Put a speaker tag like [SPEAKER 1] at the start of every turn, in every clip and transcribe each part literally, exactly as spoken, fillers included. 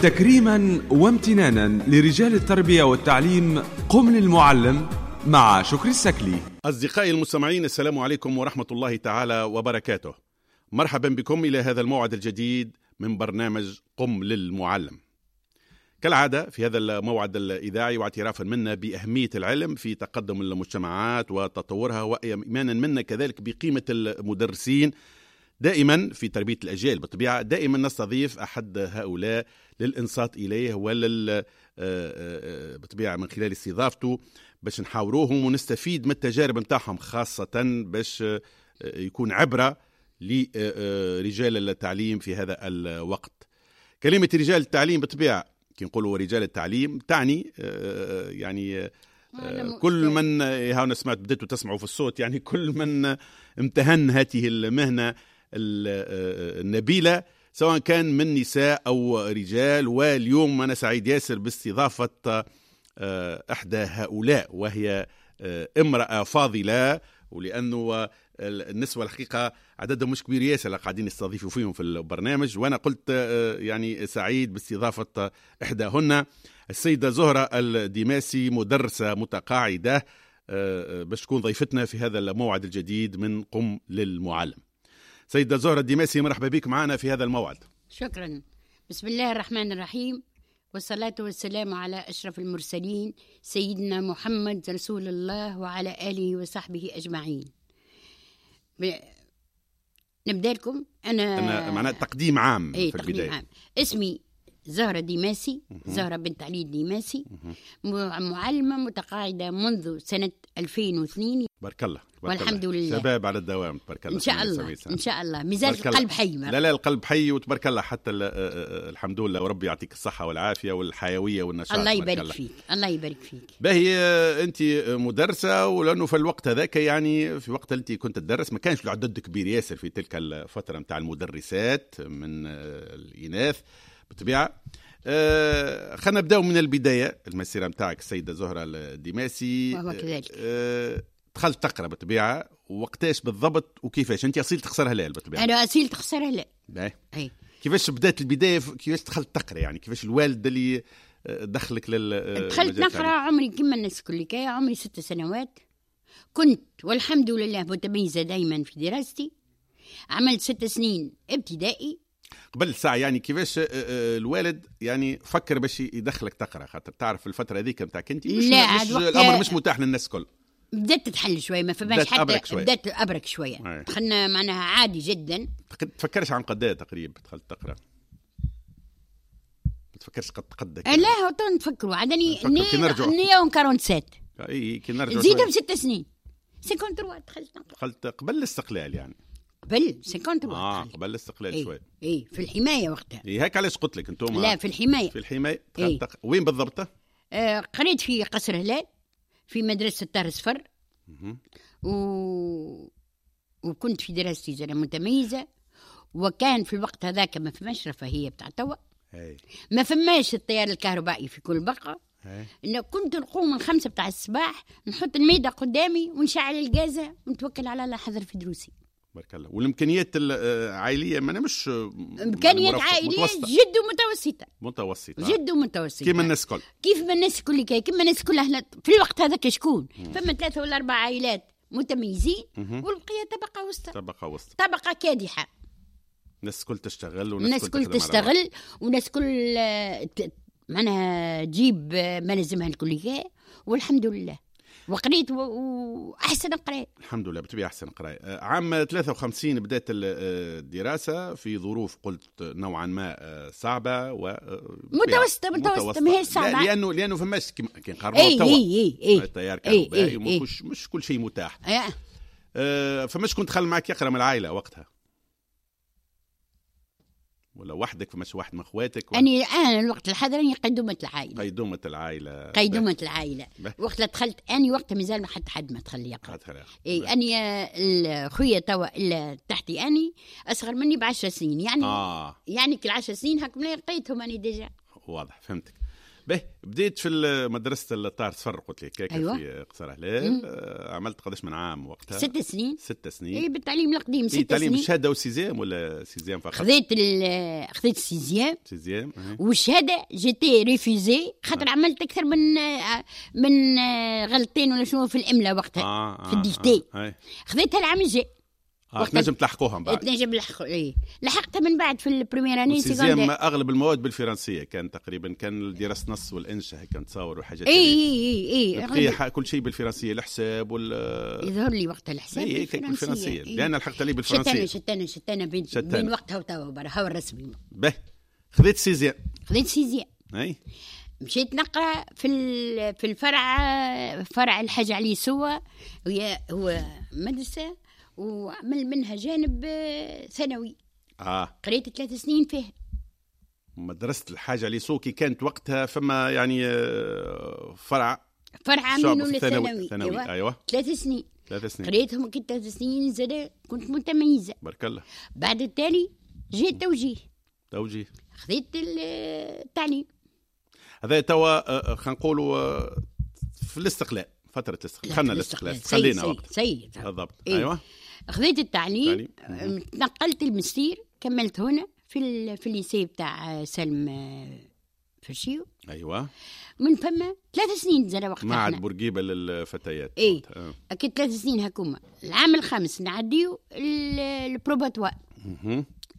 [SPEAKER 1] تكريما وامتنانا لرجال التربية والتعليم، قم للمعلم مع شكري السكلي.
[SPEAKER 2] أصدقائي المستمعين، السلام عليكم ورحمة الله تعالى وبركاته. مرحبا بكم إلى هذا الموعد الجديد من برنامج قم للمعلم. كالعادة في هذا الموعد الإذاعي، واعترافا منا بأهمية العلم في تقدم المجتمعات وتطورها، وإيمانا منا كذلك بقيمة المدرسين دائما في تربية الأجيال، بالطبيعة دائما نستضيف أحد هؤلاء للإنصات إليه ولل بالطبيعة من خلال استضافته باش نحاوروهم ونستفيد من التجارب نتاعهم، خاصة باش يكون عبرة لرجال التعليم في هذا الوقت. كلمة رجال التعليم بالطبيعة كي نقولوا رجال التعليم تعني يعني كل من هاونا سمعت بديتوا تسمعوا في الصوت، يعني كل من امتهن هذه المهنة النبيلة سواء كان من نساء أو رجال. واليوم أنا سعيد ياسر باستضافة إحدى هؤلاء، وهي امرأة فاضلة، ولأنه النسوة الحقيقة عددهم مش كبير ياسر اللي قاعدين يستضيفوا فيهم في البرنامج، وأنا قلت يعني سعيد باستضافة إحداهن، السيدة زهرة الديماسي، مدرسة متقاعدة، باش تكون ضيفتنا في هذا الموعد الجديد من قم للمعلم. سيدة زهرة الديماسي، مرحبا بك معنا في هذا الموعد.
[SPEAKER 3] شكرا. بسم الله الرحمن الرحيم، والصلاة والسلام على أشرف المرسلين سيدنا محمد رسول الله وعلى آله وصحبه أجمعين. ب... نبدأ لكم أنا,
[SPEAKER 2] أنا معناها تقديم عام.
[SPEAKER 3] إيه،
[SPEAKER 2] في
[SPEAKER 3] تقديم
[SPEAKER 2] البداية
[SPEAKER 3] عام. اسمي زهرة ديماسي، زهرة بنت علي الديماسي، معلمة متقاعدة منذ سنة ألفين واثنين.
[SPEAKER 2] بارك الله، بارك
[SPEAKER 3] والحمد
[SPEAKER 2] الله.
[SPEAKER 3] لله،
[SPEAKER 2] شباب على الدوام، تبارك الله.
[SPEAKER 3] إن شاء الله، إن شاء الله مازال القلب حي.
[SPEAKER 2] لا لا، القلب حي وتبارك الله، حتى الحمد لله، وربي يعطيك الصحة والعافية والحيوية والنشاط.
[SPEAKER 3] الله يبارك فيك، الله يبارك فيك.
[SPEAKER 2] باهي، أنت مدرسة، ولأنه في الوقت هذاك يعني في وقت أنت كنت تدرس ما كانش العدد كبير ياسر في تلك الفترة متاع المدرسات من الإناث بالطبيعة. أه خلينا نبداو من البداية، المسيرة متاعك السيدة زهرة الديماسي.
[SPEAKER 3] وهو كذلك.
[SPEAKER 2] أه دخلت تقرا بالطبيعة، وقتاش بالضبط وكيفاش؟ أنت أصيلة قصر هلال بالطبيعة.
[SPEAKER 3] أنا أصيلة قصر هلال.
[SPEAKER 2] أي. كيفاش بدات البداية؟ كيفاش دخلت تقرا؟ يعني كيفاش الوالد اللي دخلك لل
[SPEAKER 3] دخلت نقرا؟ عمري كما الناس الكل، كي عمري ست سنوات كنت والحمد لله متميزة دايما في دراستي. عملت ست سنين ابتدائي.
[SPEAKER 2] قبل ساعة يعني كيفاش الوالد يعني فكر باش يدخلك تقرا؟ خاطر تعرف الفترة هذيك نتاعك انت مش,
[SPEAKER 3] لا
[SPEAKER 2] مش الامر مش متاح للناس الكل.
[SPEAKER 3] بدات تتحل شوية، ما فماش حتى، بدات ابرك شوية. دخلنا معناها عادي جدا.
[SPEAKER 2] تفكرش عن قداه تقريبا دخلت تقرا؟ ما تفكرش قد قدك؟
[SPEAKER 3] لا هو تو نتفكروا عادني مية وسبعة وأربعين.
[SPEAKER 2] اي كي نرجعوا
[SPEAKER 3] نزيدهم ست سنين ثلاثة وخمسين دخلت نقرا.
[SPEAKER 2] دخلت قبل الاستقلال يعني؟
[SPEAKER 3] قبل خمسة وخمسين.
[SPEAKER 2] اه قبل الاستقلال.
[SPEAKER 3] إيه.
[SPEAKER 2] شوي.
[SPEAKER 3] اي في الحماية وقتها.
[SPEAKER 2] اي هيك علاش قلت لك انتم
[SPEAKER 3] لا في الحماية.
[SPEAKER 2] في الحماية.
[SPEAKER 3] إيه؟
[SPEAKER 2] تق... وين بالضبط؟
[SPEAKER 3] آه قريت في قصر هلال في مدرسه الطاهر صفر. و... وكنت في دراستي زلمة متميزة، وكان في الوقت هذاك ما فماش رفاهية بتاع توا، ما فماش التيار الكهربائي في كل بقعة. إنه كنت نقوم من خمسة بتاع الصباح، نحط الميدة قدامي ونشعل الجازة ونتوكل على الله حذر في دروسي.
[SPEAKER 2] بارك الله. والامكانيات العائلية ما مش
[SPEAKER 3] امكانيات عائلية جد متوسطه.
[SPEAKER 2] متوسطه
[SPEAKER 3] جد متوسطه
[SPEAKER 2] كيما الناس الكل.
[SPEAKER 3] كيف ما الناس الكل، كيما الناس كلها في الوقت هذاك. شكون فما ثلاثة ولا اربع عائلات متميزين، والبقية طبقه وسطى.
[SPEAKER 2] طبقه وسطى،
[SPEAKER 3] طبقه كادحه.
[SPEAKER 2] الناس الكل تشتغل،
[SPEAKER 3] والناس الكل تشتغل، والناس الكل معناها تجيب ما لازمها الكلية، والحمد لله. وقريت واحسن قرايه
[SPEAKER 2] الحمد لله، بالطبيعة احسن قرايه. عام ثلاثة وخمسين بدات الدراسة في ظروف قلت نوعا ما صعبة و
[SPEAKER 3] متوسطه. متوسطه ما هي صعبة،
[SPEAKER 2] لانه لانه فماش كي نقارنوا توا
[SPEAKER 3] اي اي
[SPEAKER 2] التيار الكهربائي مش مش كل شيء متاح. أه فماش كنت دخل معك يقرا من العائلة وقتها ولا وحدك؟ فماش واحد من اخواتك؟
[SPEAKER 3] ولا... أني أنا الوقت الحاضر أني قيدومة العائلة.
[SPEAKER 2] قيدومة العائلة.
[SPEAKER 3] قيدومة العائلة. وقت دخلت أني وقت مازال ما حتى حد ما دخل يقرأ. إيه أني خويا توا اللي تحتي أني أصغر مني بعشر سنين يعني.
[SPEAKER 2] آه.
[SPEAKER 3] يعني كل عشر سنين هاكم لقيتهم أني déjà.
[SPEAKER 2] واضح، فهمتك. به بديت في مدرسه الطار صفر قلت لك
[SPEAKER 3] أيوة.
[SPEAKER 2] في قصر هلال. آه عملت قداش من عام وقتها؟
[SPEAKER 3] ست سنين.
[SPEAKER 2] ست سنين
[SPEAKER 3] اي بالتعليم القديم. ست سنين
[SPEAKER 2] تعليم شهادة و sixième ولا sixième فقط؟
[SPEAKER 3] خذيت خذيت sixième
[SPEAKER 2] sixième
[SPEAKER 3] والشهادة j'étais refusée خاطر آه. عملت اكثر من من غلطين ولا شنو في الاملاء وقتها.
[SPEAKER 2] آه آه
[SPEAKER 3] في ال dictée.
[SPEAKER 2] آه.
[SPEAKER 3] خذيتها العام الجاي.
[SPEAKER 2] آه تنجم تلحقوها من بعد.
[SPEAKER 3] تنجم تلحقوا اي لحقتها من بعد في ال première année
[SPEAKER 2] secondaire. اغلب المواد بالفرنسيه كان تقريبا، كان دراسة نص والانشاء هيك نتصور وحاجات.
[SPEAKER 3] اي اي اي
[SPEAKER 2] اي كل شيء بالفرنسيه، الحساب وال
[SPEAKER 3] يظهر لي وقت الحساب
[SPEAKER 2] اي بالفرنسيه. إيه. لان لحقت لي بالفرنسيه.
[SPEAKER 3] شتانه شتانه شتانه بين, بين وقتها وتوا برا هو الرسمي.
[SPEAKER 2] به خذيت sixième.
[SPEAKER 3] خذيت sixième
[SPEAKER 2] اي
[SPEAKER 3] مشيت نقرا في في الفرع، فرع الحاج علي سوا، هي هو مدرسه وعمل منها جانب ثانوي.
[SPEAKER 2] اه
[SPEAKER 3] قريت ثلاث سنين فيه
[SPEAKER 2] مدرسة الحاج علي سوكي. كانت وقتها فما يعني فرع
[SPEAKER 3] فرع منه للثانوي.
[SPEAKER 2] أيوة. ايوه
[SPEAKER 3] ثلاث سنين.
[SPEAKER 2] ثلاث سنين
[SPEAKER 3] قريتهم كي ثلاث سنين زاد كنت متميزة
[SPEAKER 2] بارك الله.
[SPEAKER 3] بعد التالي جيت توجيه.
[SPEAKER 2] توجيه
[SPEAKER 3] خذيت التعليم
[SPEAKER 2] هذا توا خلينا نقولوا في الاستقلال، فترة الاستقلال. خلنا الاستقلال خلينا وقت
[SPEAKER 3] سيد
[SPEAKER 2] بالضبط.
[SPEAKER 3] إيه.
[SPEAKER 2] ايوه
[SPEAKER 3] خذيت التعليم، تنقلت المستير، كملت هنا في في ال lycée بتاع سلم فرشيو.
[SPEAKER 2] ايوه
[SPEAKER 3] من فما ثلاث سنين زاد وقتها
[SPEAKER 2] معهد بورقيبة للفتيات.
[SPEAKER 3] اي اكيد ثلاث سنين هكوما. العام الخامس نعديو ال probatoire،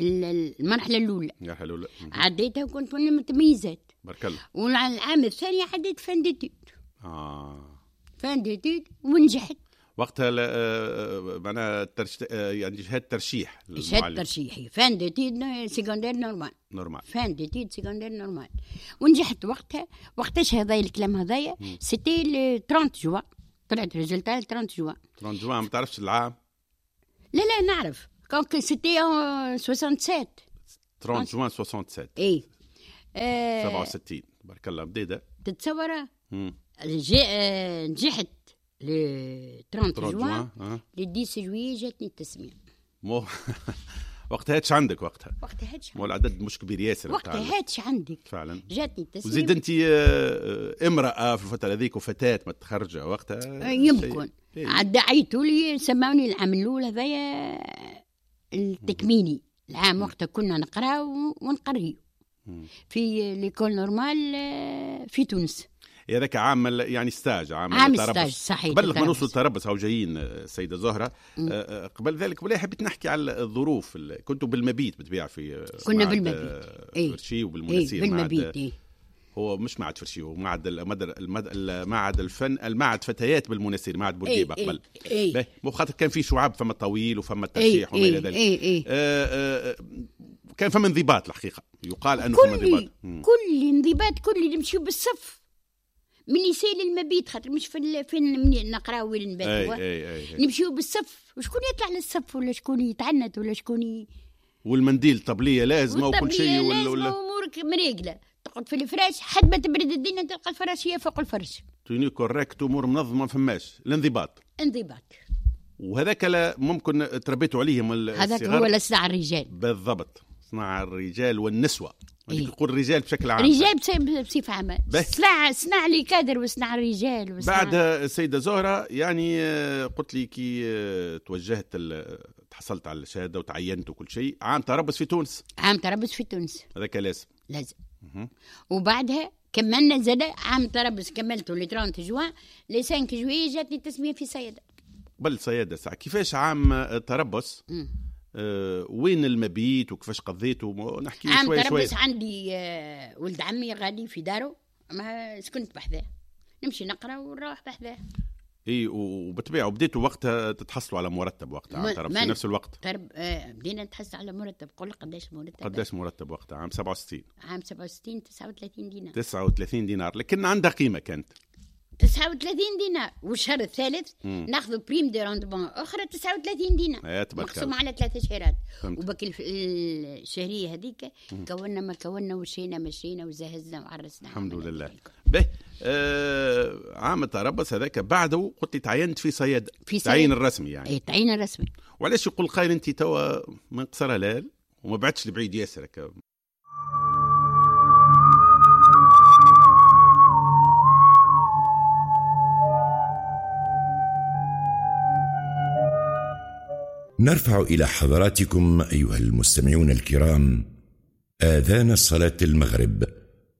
[SPEAKER 3] المرحلة الاولى.
[SPEAKER 2] المرحلة الاولى
[SPEAKER 3] عديتها وكنت من المتميزات
[SPEAKER 2] بارك الله.
[SPEAKER 3] والعام الثاني عديت fin d'études.
[SPEAKER 2] اه
[SPEAKER 3] fin d'études ونجحت
[SPEAKER 2] وقتها. معناها ترش... يعني شهادة ترشيح.
[SPEAKER 3] شهادة ترشيحي fin d'études secondaires normales.
[SPEAKER 2] normales
[SPEAKER 3] fin d'études secondaires normales ونجحت وقتها. وقتاش هذايا الكلام هذايا؟ c'était ثلاثين جوان طلعت résultat ثلاثين جوان.
[SPEAKER 2] ثلاثين جوان ما تعرفش العام؟
[SPEAKER 3] لا لا نعرف، كونك c'était سبعة وستين.
[SPEAKER 2] ثلاثين جوان سبعة وستين.
[SPEAKER 3] اي آه...
[SPEAKER 2] سبعة وستين بارك الله بديده.
[SPEAKER 3] تتصور نجحت le ثلاثين جوان، le عشرة juillet جاتني التسمية.
[SPEAKER 2] مو وقتها هاتش عندك وقتها؟
[SPEAKER 3] وقتها هاتش.
[SPEAKER 2] مو العدد مش كبير ياسر.
[SPEAKER 3] وقتها هاتش عندك
[SPEAKER 2] فعلا.
[SPEAKER 3] جاتني التسمية.
[SPEAKER 2] وزيد انت امرأة في الفترة هذيك وفتاة متخرجة وقتها.
[SPEAKER 3] يمكن عاد عيطوا لي سماوني العام الاول هذايا التكميني. العام وقتها كنا نقرا ونقريو في l'école normale في تونس.
[SPEAKER 2] هذاك عام يعني stage، عام,
[SPEAKER 3] عام stage صحيح.
[SPEAKER 2] قبل ما نوصل للتربص هاو جايين السيدة زهره. قبل ذلك ولا حبيت نحكي على الظروف. كنتوا بالمبيت بتبيع في
[SPEAKER 3] كنا بالمبيت
[SPEAKER 2] اي فرشي وبالمناسير.
[SPEAKER 3] إيه بالمبيت إيه.
[SPEAKER 2] هو مش معهد فرشي، هو معهد المعهد الفن، المعهد فتيات بالمناسير، معهد بورقيبة
[SPEAKER 3] إيه
[SPEAKER 2] قبل.
[SPEAKER 3] إيه.
[SPEAKER 2] مو خاطر كان في شعاب فما طويل وفما الترشيح
[SPEAKER 3] إيه
[SPEAKER 2] وما الى ذلك.
[SPEAKER 3] إيه إيه.
[SPEAKER 2] آه آه كان فما انضباط الحقيقة، يقال انه فما انضباط.
[SPEAKER 3] كل انضباط، كل نمشيو بالصف من lycée للمبيت، خاطر مش في فين نقراو وين نباتوا. نمشيو بالصف، وشكون يطلع للصف ولا شكون يتعنت ولا شكون ي...
[SPEAKER 2] والمنديل طبليه لازمه وكل شيء
[SPEAKER 3] ولا ولا امورك مريقله، تقعد في الفراش حد ما تبرد الدنيا تلقى الفراشيه فوق الفرش.
[SPEAKER 2] tenue correcte، امور منظمة، ما فماش الانضباط.
[SPEAKER 3] انضباط.
[SPEAKER 2] وهذاك لا ممكن تربيتوا عليهم الصغار.
[SPEAKER 3] هذاك هو لصناع الرجال.
[SPEAKER 2] بالضبط، صناع الرجال والنسوه.
[SPEAKER 3] إيه؟
[SPEAKER 2] نقول الرجال بشكل عام.
[SPEAKER 3] رجال بصفة عامة. صنع صنع les cadres وصنع الرجال وصنع.
[SPEAKER 2] بعد السيدة زهرة يعني قلت لي كي توجهت تحصلت على الشهادة وتعينت وكل شيء، عام تربص في تونس.
[SPEAKER 3] عام تربص في تونس.
[SPEAKER 2] هذاك لازم.
[SPEAKER 3] لازم. وبعدها كملنا زاد عام تربص، كملته le ثلاثين جوان، le خمسة juillet جاتني التسمية في صيادة.
[SPEAKER 2] قبل صيادة ساعة كيفاش عام تربص؟ أه وين المبيت وكيفاش قضيته؟ نحكي شوي شوي.
[SPEAKER 3] عام تربص عندي أه ولد عمي غادي في داره، ما سكنت بحذاه، نمشي نقرا ونروح بحذاه.
[SPEAKER 2] اي وبالطبيعه وبديتوا وقتها تتحصلوا على مرتب وقتها عام تربص في نفس الوقت.
[SPEAKER 3] ترب آه بدينا نتحصل على مرتب. قول قداش مرتب؟
[SPEAKER 2] قداش مرتب وقتها عام سبعة وستين؟
[SPEAKER 3] عام سبعة وستين تسعة وثلاثين دينار.
[SPEAKER 2] تسعة وثلاثين دينار، لكن عندها قيمة كانت.
[SPEAKER 3] تسعة وثلاثين دينار، والشهر الثالث ناخذ prime de rendement اخرى تسعة وثلاثين دينار مقسومة على ثلاثة شهرات. وبكل الشهرية هذيك كونا ما كونا وشينا مشينا وزهزنا وعرسنا
[SPEAKER 2] الحمد لله. به آه عام التربص هذاك بعده قلت لي تعينت في صيادة.
[SPEAKER 3] في
[SPEAKER 2] تعيين الرسمي يعني.
[SPEAKER 3] اي تعيين الرسمي.
[SPEAKER 2] وعلاش يقول قايل انت توا من قصر هلال وما بعدش لبعيد ياسر؟
[SPEAKER 4] نرفع إلى حضراتكم أيها المستمعون الكرام آذان صلاة المغرب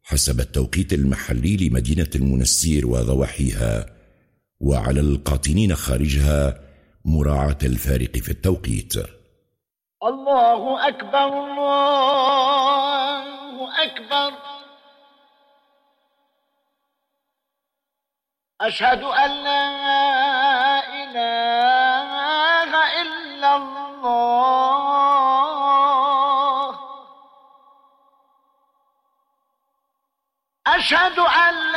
[SPEAKER 4] حسب التوقيت المحلي لمدينة المنستير وضواحيها، وعلى القاطنين خارجها مراعاة الفارق في التوقيت.
[SPEAKER 5] الله أكبر، الله أكبر، أشهد أن لا إله إلا الله، أشهد أن لا